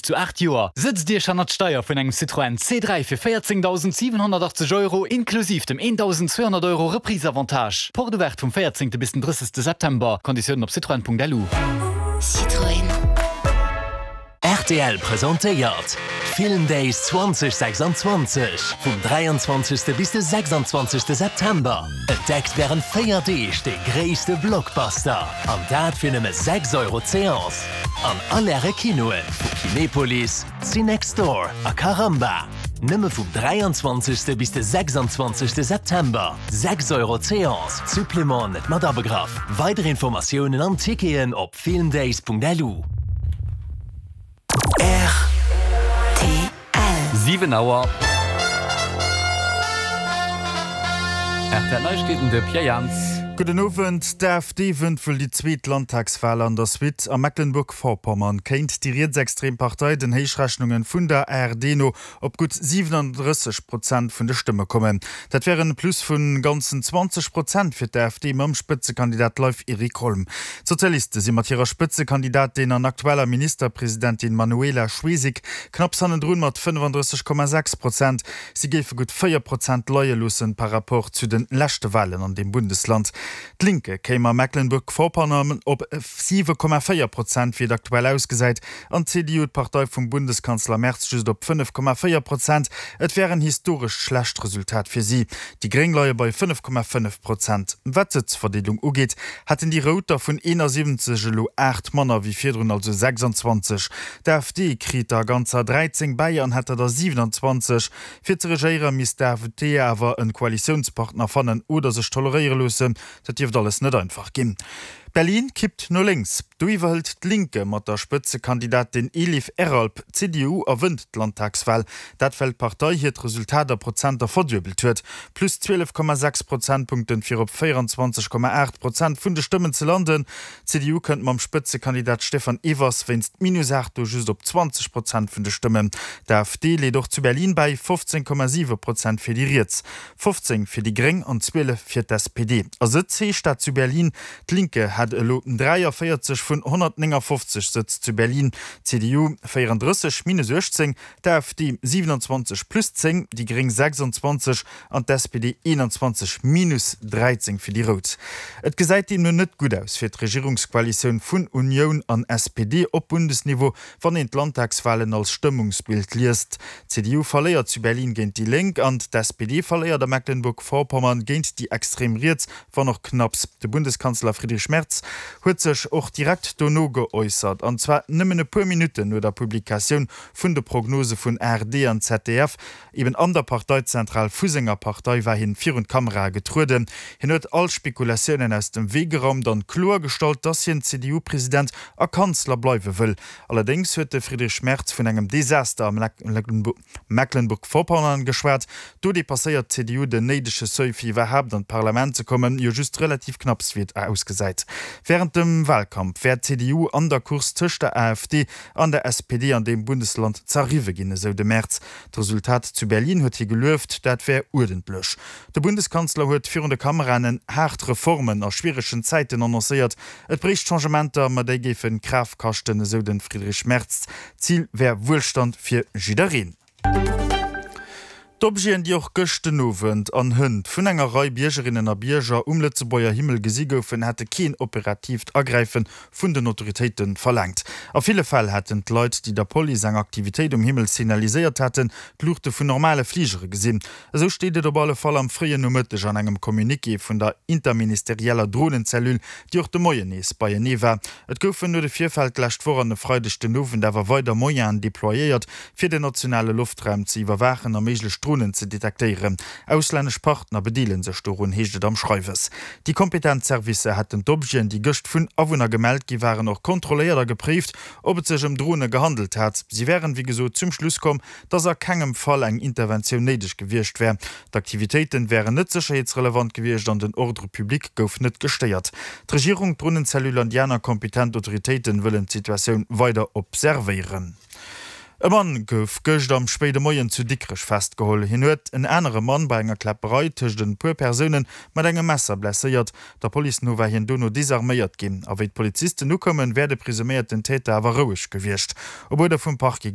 zu 8 Joer. Sëtzt Iech hannert d'Steier vun engem Citroën C3 fir 14.780 Euro inklusiv dem 1.200 Euro Reprise-Avantage. Porte ouverte vum 14. bis den 30. September. Konditiounen op citroën.lu. Citroën. Rtl presentéiert Film Days 2026 vum 23. bis de 26. September. Entdeckt wärend 4 Deeg de gréisste Blockbuster an dat fir nëmme 6 Euro d'Seance an all Äre Kinoe vu Kinepolis, Cinextdoor a Caramba. Nëmme vum 23. bis de 26. September, 6 Euro d'Seance, Supplément net mat abegraff. Weider Informatiounen an Ticketen op filmdays.lu. Rtl. 7 Auer. Rtl Neiegkeeten, de Pierre Jans. Gudden Owend. D'AfD wënnt wuel déi zweet Landtagswal an der Suite. A Mecklenburg-Vorpommern kéint déi rietsextrem Partei den Héichrechnunge vun der ARD no op gutt 37 Prozent vun de Stëmme kommen. Dat wär en Plus vun ganzen 20 Prozent fir d'AfD mam Spëtzekandidat Leif-Erik Holm. D'Sozialiste si mat hirer Spëtzekandidatin an aktueller Ministerpresidentin Manuela Schwesig knapps hannendrun mat 35,6 Prozent. Si géife gutt 4 Prozent leie loossen par rapport zu de leschte Walen an deem Bundesland. D'Linke kéim a Mecklenburg-Vorpommern op 7,4 Prozent, wéi et aktuell ausgesäit. An d'CDU, d'Partei vum Bundeskanzler Merz, just op 5,4 Prozent. Et wär en historescht schlecht Resultat fir si. Déi Gréng leie bei 5,5 Prozent. Wat d'Sëtzverdeelung ugeet, hätten déi Rout der vun 71 elo 8 manner wéi virdrun, also 26. D'AfD kritt der ganzer 13 bäi an hätt der der 27. Fir ze regéiere misst d'AfD awer en Koalitiounspartner fannen oder sech toleréiere loossen. Dat dierft alles net einfach ginn. Berlin kippt no lénks. Do iwwerhëlt d'Linke mat der Spëtzekandidatin Elif Eralp d'CDU a wënnt d'Landtagswal. Dat well d'Partei hiert Resultat a Prozenter verduebelt huet. Plus 12,6 Prozentpunkten, fir op 24,8 Prozent vun de Stëmmen ze landen. D'CDU kënnt mam Spëtzekandidat Stefan Evers wéinst minus 8 do just op 20 Prozent vun de Stëmmen. D'AfD leet och zu Berlin bäi, 15,7 Prozent fir déi Riets. 15 fir déi Gréng an 12 fir d'SPD. A Sëtz heescht dat zu Berlin, d'Linke hätt elo 43 vun 159 Sëtz zu Berlin, d'CDU 34 minus 18, d'AfD 27 plus 10, déi Gréng 26 an d'SPD 21 minus 13 fir déi Rout. Et gesäit deemno net gutt aus fir d'Regierungskoalitioun vun Unioun an SPD op Bundesniveau, Wann een d'Landtagswalen als Stëmmungsbild liest, D'CDU verléiert zu Berlin géint déi Lénk an d'SPD verléiert a Mecklenburg-Vorpommern géint déi extrem Riets, wann och knapps. De Bundeskanzler Friedrich Merz huet sech och direkt dono geäussert, an zwar nëmmen e puer Minutten no der Publikatioun vun de Prognose vun ARD an ZDF. Eben an der Parteizentral vu senger Partei war hien virun d'Kamerae getrueden. Hien huet all Spekulatiounen aus dem Wee geraumt an kloer gestallt, dass hien CDU-President a Kanzler bleiwe wëll. Allerdéngs huet de Friedrich Merz vun engem Desaster a Mecklenburg-Vorpommern geschwat. Do depasséiert d'CDU den néidege Seuil fir iwwerhaapt an d'Parlament ze kommen, jo just relativ knapps wéi et ausgesäit. Wärend dem Walkampf wär d'CDU an der Course tëscht der AfD an der SPD an deem Bundesland zerriwwe ginn, esou de Merz. D'Resultat zu Berlin huet hie gelueft, dat wär uerdentlech. De Bundeskanzler huet virun de Kameraen haart Reformen a schwieregen Zäiten annoncéiert. Et bréicht Changementer, ma déi géife Kraaft kaschten, esou de Friedrich Merz. D'Zil wär Wuelstand fir jiddereen. D'Objeten, déi och gëscht den Owend an hënt vun enger Rei Biergerinnen a Bierger um Lëtzebuerger Himmel gesi goufen, hätte keen operatiivt Agräife vun den Autoritéite verlaangt. A ville Fäll hätten d'Leit, déi der Police eng Aktivitéit um Himmel signaliséiert haten, d'Luuchte vun normale Fligere gesinn. Esou steet et op alle Fall am fréien Nomëtteg an engem Communiqué vun der interministerieller Dronenzellule, déi och de Moien nees beienee war. Et goufen no de Virfäll d'lescht Woch an e Freideg den Owend awer weider Moyenen deployéiert, fir den nationale Loftraum ze iwwerwaachen a méiglech Dronen ze detektéieren. Auslännesch Partner bedeele sech dorun, heescht et am Schreiwes. Déi kompetent Servicer hätten d'Objeten, déi gëscht vun Awunner gemellt gi waren, och kontrolléiert a gepréift, ob et sech ëm Drone gehandelt hat. Si wären, wéi gesot, zum Schluss komm, dass a kengem Fall eng Interventioun néideg gewiescht wär. D'Aktivitéiten wären net sécherheetsrelevant gewiescht an den Ordre public gouf net gestéiert. D'Regierung, d'Dronenzellule an déi aner kompetent Autoritéiten wëllen d'Situatioun weider observéieren. E Mann gouf gëscht am spéide Moien zu Dikrech festgeholl. Hien huet en anere Mann bei enger Kläpperei tëscht en puer Persoune mat engem Messer blesséiert. Der Police no war hien dono desarméiert ginn. A wéi d'Polizisten ukoumen, wär de presuméierten Täter awer roueg gewiescht. Op Uerder vum Parquet.